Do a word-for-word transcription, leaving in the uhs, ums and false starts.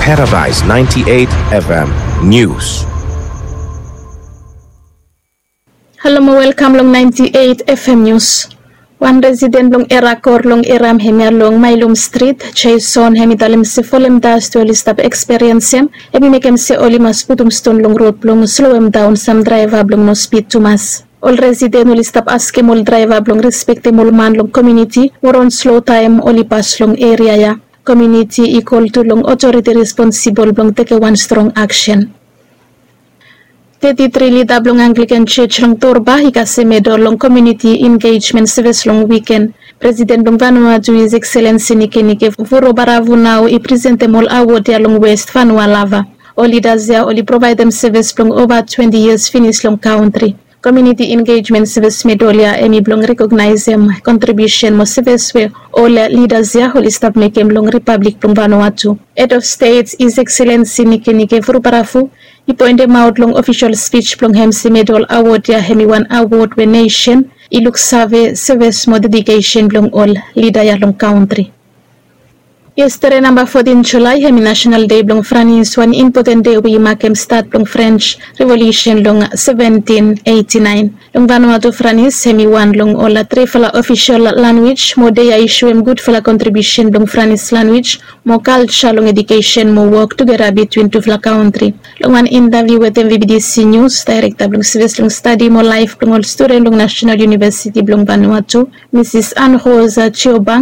Paradise ninety-eight F M News. Halo mo welkam long ninety-eight F M News. Wan residen blong Erakor long Eram hemia long Mailum Strit, Jason, hem i talem se folem dast we oli stap eksperiensim hem i mekem se oli mas putum ston long rod blong slowem daon sam draeva blong no spid tumas. Ol residen oli stap askem ol draeva blong respektem ol man long komuniti mo ron slo taem oli pas long eria ya. Komuniti i kol tu long otoriti responsibol blong tekem wan strong aksen. Teti tri lida blong Anglikan Jos long Torba i kasem medol long komuniti engejmen sevis long wiken. Presiden blong Vanuatu, His Excellency Nikenike Vurobaravu, nao i presentem ol awod ya long West Vanua Lava. Ol lidas ya oli provaedem sevis blong ova twenti yias finis long kantri. Komuniti engejmen sevis medol ya hem i blong rekognaesem kontribiusen mo sevis we ol lidas ya oli stap mekem long ripablik blong Vanuatu. Hed of Stet, His Excellency Nikenike Vurobaravu, i poentemaot long ofisol spij blong hem se medol awod ya hem i wan awod we nesen i luksave sevis mo dedikesen blong ol lida ya long kantri. Yestede, namba fotin Julae, hem i Nasenal Dei blong Franis, wan impoten dei we i makem stat blong Frens Revolusen long seventin eiti naen. Long Vanuatu, Franis hem i wan long ol trifala ofisol lanwis mo dei ya i soem gudfala kontribiusen blong Franis lanwis mo kalja long edukesen mo wok tugeta bitwin tufala kantri. Long wan intaviu wetem V B T C Nius, daerekta blong sevis long stadi mo laef blong ol studen long Nasenal Univesiti blong Vanuatu, Misis Ann Rosa Jiobang,